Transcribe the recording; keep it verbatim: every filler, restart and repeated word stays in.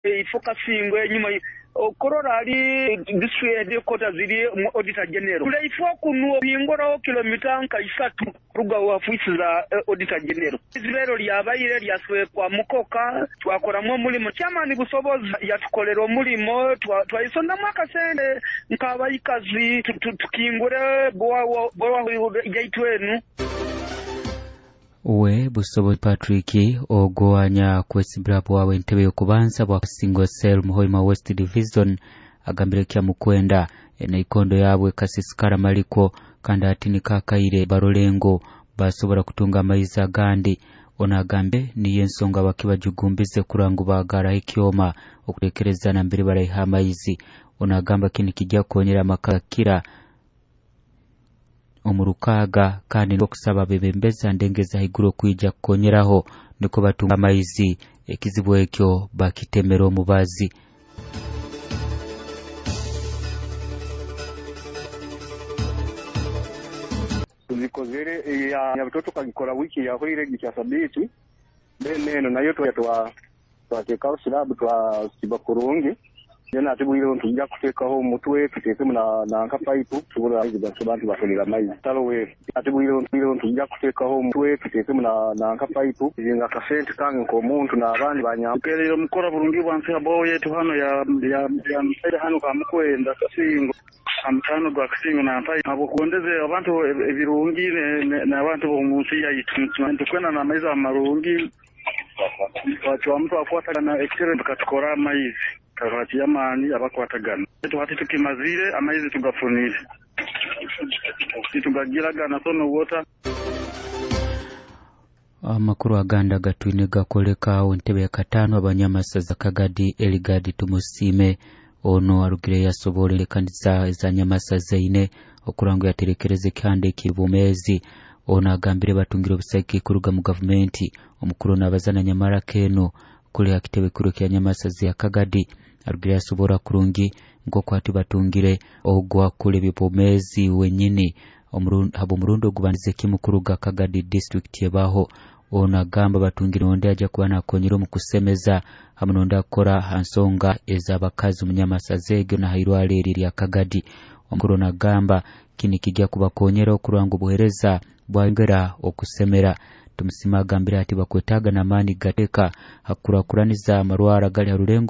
Ifocusing enyuma okorora ali district headquarters ziri mu auditor general kuleifo kuno bingora kilomita nka isatu ruga ofisi za auditor general. Izibero lyabaire lyaswekwa mukoka twakoramu omulimo kyamani busobozi yatukolera omulimo twaisondamu akasente nk'abaikazi tukingure bowa bowa yaitu enu. We Busobozi Patrick ogwanya kwesimbira bwawe entebe y'okubanza bwa Singo Cell Muhoima West Division agambire kya mukwenda enaikondo yabwe kasisikara maliko kandi ati nikakaire barolengo basobora kutunga amaizi agandi. Ono agambe niyo ensonga bakibajugumbize kurangu bagara ekyoma okutekereza nambere baraiha amaizi. Ono agamba kini kijja kukonyera amaka kira omurukaga kandi okusaba bebembeza ndengeza haiguru okwija kukonyeraho niko batunga amaizi ekizibu ekyo bakitemera omubazi. Tuzikozere ya nyabitoto kagikora wiki yahwire gikya sabiti then eno nayo twa twateekaho silabu twasiba kurungi then ate bwire tujja kuteekaho omutwe tuteekemu na na nka pipe tusobola abantu bafunira amaizi talo we ate bwire tujja kuteekaho omutwe tuteekemu na na nka pipe nga akasente kange nk'omuntu n'abandi banyamperera omukora burungi bwansi abo yetu hano ya ya ya msaida hano kamukwenda Kasingo amutano gwa Kasingo nampa abo kugondeze abantu ebirungi n'abantu b'omunsi yaitu tukwenda n'amaizi amarungi twacwamu twakwatagana ekitebe tukatukora amaizi kakati amaani abakwatagana tuhati tukimazire amaizi tugafunire titugagiragana sono water. Amakuru aganda gatwine gakoleka entebe ya katano abanyamasaza Kagadi Eligadi Tumusime ono arugire yasobolere kanisa za Nyamasaza ine okurango yaterekereze kandi kibumezi. Ono agambire batungire obusaki kuruga mu gavumenti. Omukuru n'abazana Nyamara keno kuli akitebe kuru kya Nyamasaza ya Kagadi arugire yasobora kurungi nk'oku ati batungire ogwa kuli bibumezi wenyini habo murundo ogubanize kimu kuruga Kagadi district yebaho. Ono agamba batungire onde aja kuba nakonyera omu kusemeza hamwe n'onde akora ha nsonga ez'abakazi omu Nyamasaza egyo na hairwaro eri erya Kagadi. Omukuru ono agamba kini kijja kubakonyera okuranga obuheereza bwayongera okusemera. Tumusima agambire ati bakwetaaga n'amaani gateeka hakukurakuraniza amarwaro agali ha rulengo.